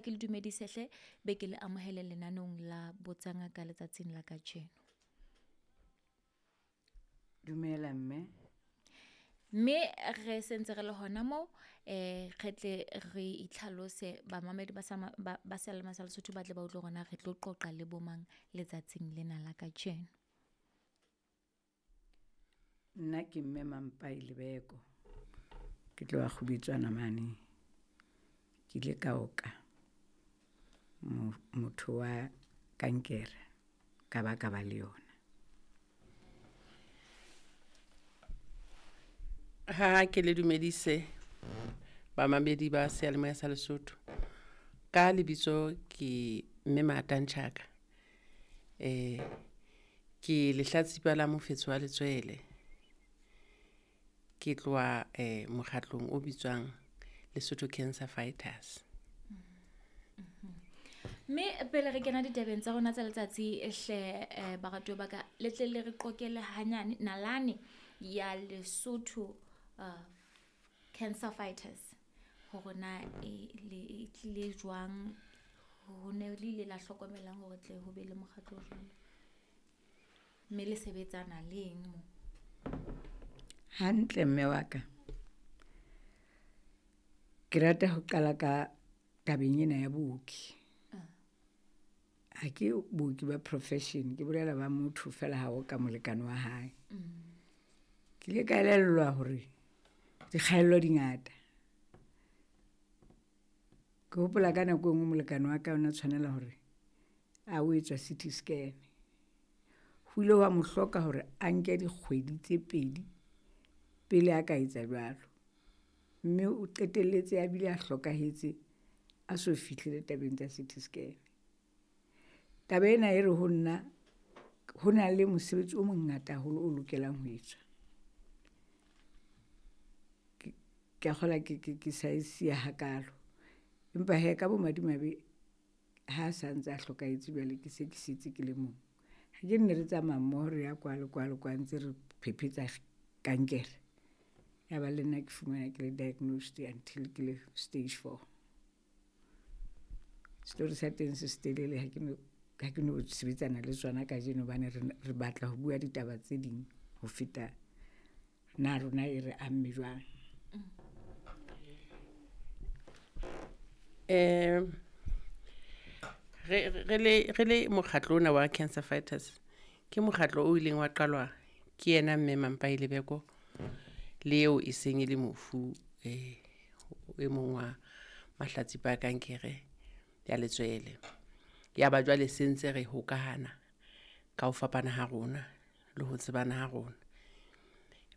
Ke le dumedise hle, be ke le amohele lenaneong la Botsa Ngaka letsatsing la kajeno. Dumela mme. Mme re sentse re le hona moo, re tle re itlhalose bamamedi ba ba seyalemoya sa Lesotho ba tle ba utlwe hore na re tlo qoqa le bo mang letsatsing lena la kajeno. Nna ke mme Mampai Lebeko. Ke tloha Kgubetswana mane. Ke ile ka oka motho wa kankere ka ba ka ba le yona. Ha ke le dumedise bamamedi ba seyalemoya sa Lesotho. Ka lebitso ke mme Matang Chaka. Ke lehlatsipa la mofetshe wa letswele. Ke tloha mokgatlong o bitswang Lesotho Cancer Fighters. Mme pele re kena ditabeng tsa rona tsa letsatsi hle, baratuwa ba ka, le tle le re qoqele hanyane nalane ya Lesotho Cancer Fighters hore na e le e tlile jwang, ho ne le ile la hlokomelang hore tle ho be le mokgatlo o jwalo, mme le sebetsana le eng mo? Hantle mme wa ka. Ke rata ho qala ka tabeng ena ya booki. Ha ke booki ba profession, ke bolela ba motho fela ha o ka molekane wa hae. Ke ile ka elellwa hore dikgaello di ngata. Ke hopola ka nako e nngwe molekane wa ka o na tshwanela hore a o etswa C_T scan. Ho ile hwa mo hloka hore a nke dikgwedi tse pedi pele a ka etsa jwalo. Mme o qetelletse a bile a hlokahetse a so fihlile tabeng tsa C_T scan. Taba ena e re ho nna ho na le mosebetsi o mongata haholo o lokelang ho etswa. Ke a kgolwa ke sa e siya hakalo. Empa hee ka bomadimabe ha sa ntse a hlokahetse jwale ke se ke setse ke le mong. Ha ke nne re tsamaya mmoho re ya kwa le kwa le kwa ntse re phephetsa kankere. Ya ba le nna ke fumana ke le diagnosed until ke le stage four. Story sa teng se setelele, ha ke no sebetsana le tsona kajeno hobane re batla ho bua ditaba tse ding ho feta na rona e re amme jwang. Re le mokgatlo ona wa Cancer Fighters, ke mokgatlo o ileng wa qalwa ke yena mme Mampai Lebeko le eo e seng e le mofu, e mong wa mahlatsipa a kankere ya letswele. Ya ba jwale se ntse re hokahana ka ho fapana ha rona le ho tsebana ha rona.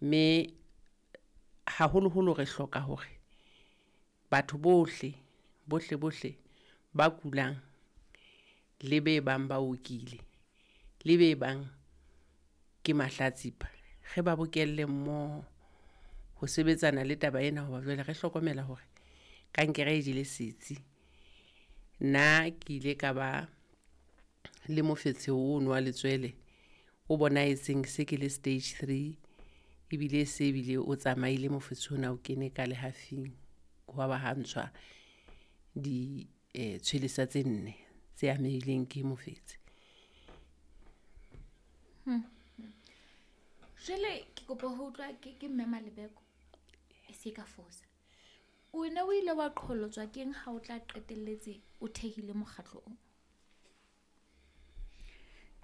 Mme haholoholo re hloka hore batho bohle, bohle, bohle ba kulang le be bang ba okile, le be bang ke mahlatsipa, re ba bokelle mmoho ho sebetsana le taba ena, hoba jwale re hlokomela hore kankere e jele setsi. Nna ke ile ka ba le mofetshe ono wa letswele o bonahetseng se ke le stage 3, ebile se ebile o tsamaile mofetshe ona o kene ka lehafing, hwa ba ha ntshwa di tshwelesa tse nne tse amehileng ke mofetshe. Jwale ke kopa ho utlwa ke mme Malebeko e se ka fosa. Wena o ile wa qholotswa keng ha o tla qetelletse o thehile mokgatlo o?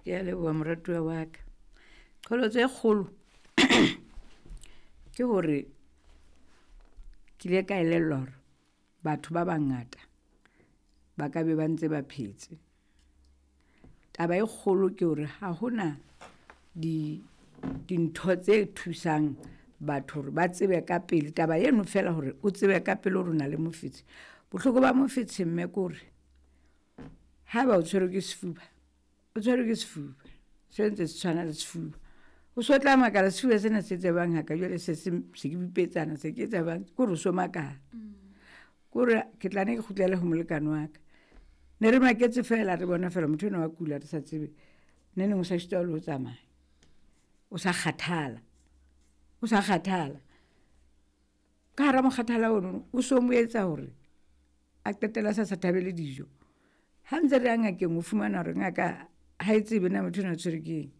Ke a leboha moratuwa wa ka. Qholotso e kgolo ke hore ke ile ka elellwa hore batho ba bangata ba ka be ba ntse ba phetse. Taba e kgolo ke hore ha hona dintho tse thusang batho hore ba tsebe ka pele. Taba eno fela hore o tsebe ka pele hore o na le mofetshe. Bohloko ba mofetshe mme ke hore haeba o tshwerwe ke sefuba, o tshwerwe ke sefuba, se ntse se tshwana le sefuba. O so tla makala sefuba sena se tsebang haka jwale se se ke bipetsana, se ke tsebang, ke hore o so makala. Ke hore ke tla ne ke kgutlele ho molekane wa ka. Ne re maketse fela, re bona fela motho enwa wa kula re sa tsebe. Ne neng o sa sitwa le ho tsamaya. O sa kgathala. O sa kgathala. Ka hara mokgathala ono o so mo etsa hore A qetella sa sa thabele dijo. Ha ntse re ya ngakeng o fumana hore ngaka ha e tsebe na motho enwa o tshwerwe ke eng.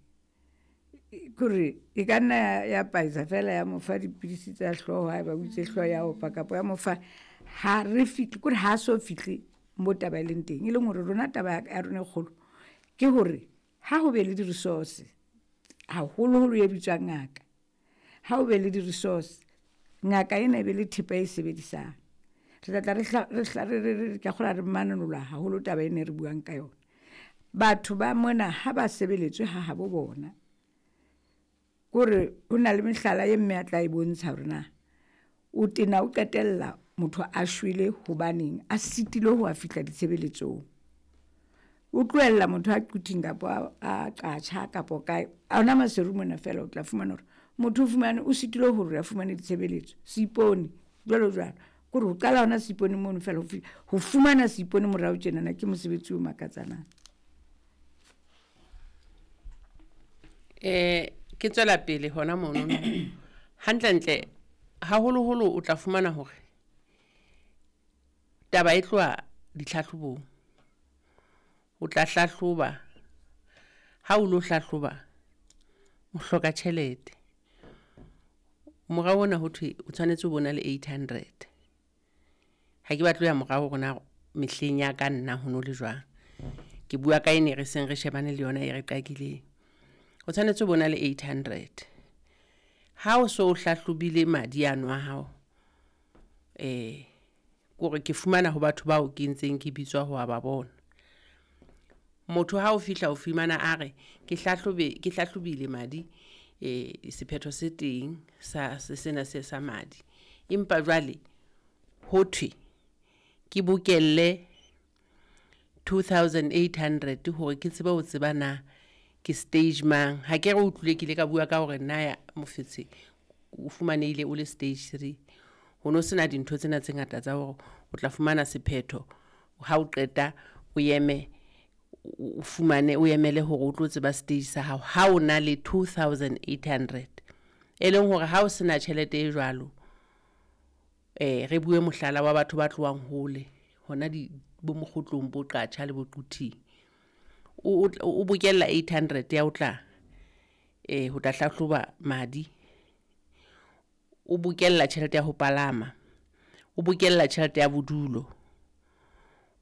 Kore e ka nna ya paisa fela ya mo fa dipidisi tsa hlooho haeba o itse hlooho ya opa kapa ya mo fa, ha re fihle kore ha so fihle mo taba e leng teng. E leng hore rona taba ya rona e kgolo ke hore ha ho be le di-resource haholoholo e bitswang ngaka. Ha o be le di-resource, ngaka ena e be le thepa e sebedisang. Re tla tla re ka kgolwa re manolla haholo taba ena e re buang ka yona. Batho ba mona ha ba sebeletswe ha habo bona, kore ho na le mehlala e mme a tla e bontsha hore na o tena o qetella motho a shwele hobaneng a sitilwe ho a fihla ditshebeletsong. O tlohella motho a Quthing kapa a Qacha kapa kae, ona Maseru mona fela o tla fumana hore motho o fumane o sitilwe hore a fumane ditshebeletso. Seipone jwalo jwalo, kore ho qala hona Seipone mono fela ho fumana Seipone morao tjenana ke mosebetsi o makatsanang. Ke tswela pele hona mono. Hantlentle haholoholo o tla fumana hore taba e tloha ditlhahlobong. O tla hlahloba, ha o lo hlahloba o hloka tjhelete. Morao ona ho thwe o tshwanetse o bona le 800. Ha ke batle ho ya morao rona mehleng ya ka nna ho no le jwang. Ke bua ka ene re seng re shebane le yona e re qakileng. O tshwanetse o bona le 800. Ha o so hlahlobile madi ano a hao, kore ke fumana ho batho bao ke ntseng ke bitswa ho ba bona. Motho ha o fihla o fumana a re ke hlahlobile madi, sephetho se teng sa sena se sa madi. Empa jwale ho thwe ke bokelle 2800 hore ke tsebe ho tseba na ke stage mang. Ha ke re utlwile ke ile ka bua ka hore nna ya mofetshe o fumanehile o le stage 3. Ho no sena dintho tsena tse ngata tsa hore o tla fumana sephetho ha o qeta o eme o fumane o emele hore o tlo tseba stage sa hao ha o na le 2800. E leng hore ha o sena tjhelete e jwalo, re bue mohlala wa batho ba tlohang hole hona di bo Mokgotlong bo Qacha le bo Quthing. O bokella 800 ya o tla ho tla hlahloba madi, o bokella tjhelete ya ho palama, o bokella tjhelete ya bodulo,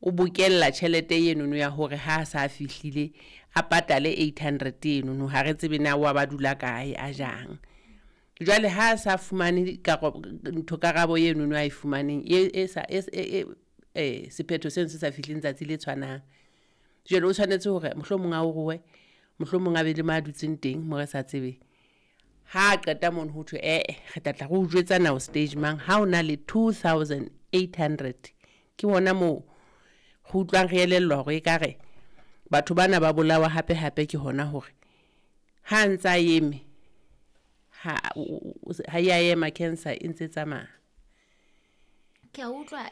o bokella tjhelete enono ya hore ha sa fihlile a patale 800 enono, ha re tsebe na wa ba dula kae a jang. Jwale ha sa fumane ntho karabo enono a e fumaneng e sa sephetho seno se sa fihleng tsatsi le tshwanang. Jwale o tshwanetse hore mohlomong a o roe, mohlomong a be le ma dutseng teng mo re sa tsebeng. Ha qeta mono ho thwe re tla tla re o jwetsa na o stage mang ha o na le 2800. Ke hona moo re utlwang re elellwa hore ekare batho bana ba bolawa hape hape ke hona hore ha ntsa eme ha ya ema cancer e ntse tsamaya. Ke a utlwa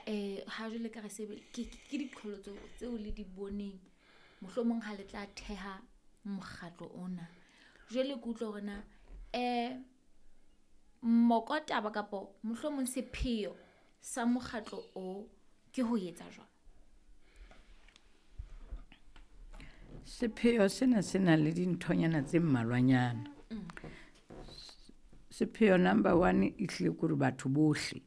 ha jwale ka re sebe ke diqholotso tseo le di boneng mohlomong ha le tla theha mokgatlo ona. Jwale ke utlwa hore na mokotaba kapa mohlomong sepheo sa mokgatlo o ke ho etsa jwang? Sepheo sena se na le dinthonyana tse mmalwanyana. Sepheo number 1 e hlile ke hore batho bohle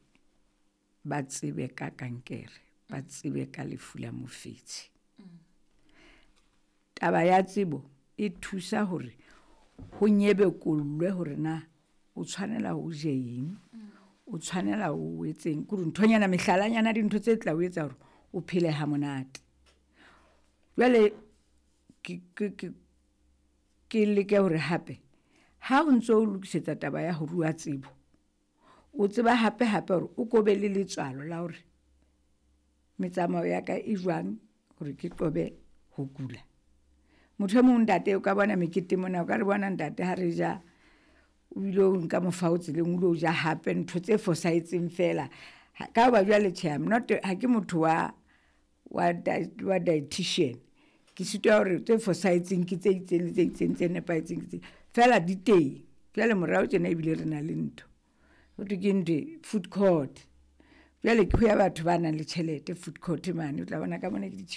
ba tsebe ka kankere, ba tsebe ka lefu la mofetshe. Taba ya tsebo e thusa hore ho nyebekollwe hore na o tshwanela ho je eng, o tshwanela ho etseng, ke hore nthonyana mehlalanyana dintho tse tla o etsa hore o phele ha monate. Jwale ke leke hore hape ha o ntso o lokisetsa taba ya ho rua tsebo, o tseba hape hape hore o ko be le letswalo la hore metsamao ya ka e jwang hore ke qobe ho kula. Motho e mong ntate o ka bona mekete mona, o ka re bona ntate ha re ja o ile o nka mofao tseleng, o ile o ja hape ntho tse fosahetseng fela. Ka hoba jwale tjhe, I'm not, ha ke motho wa dietitian. Ke sitwa hore tse fosahetseng ke tse itseng le tse itseng tse nepahetseng ke tse fela di teng. Jwale morao tjena ebile re na le ntho ho thwe ke ntho food court. Jwale ke ho ya batho ba nang le tjhelete food court mane, o tla bona ka mona ke di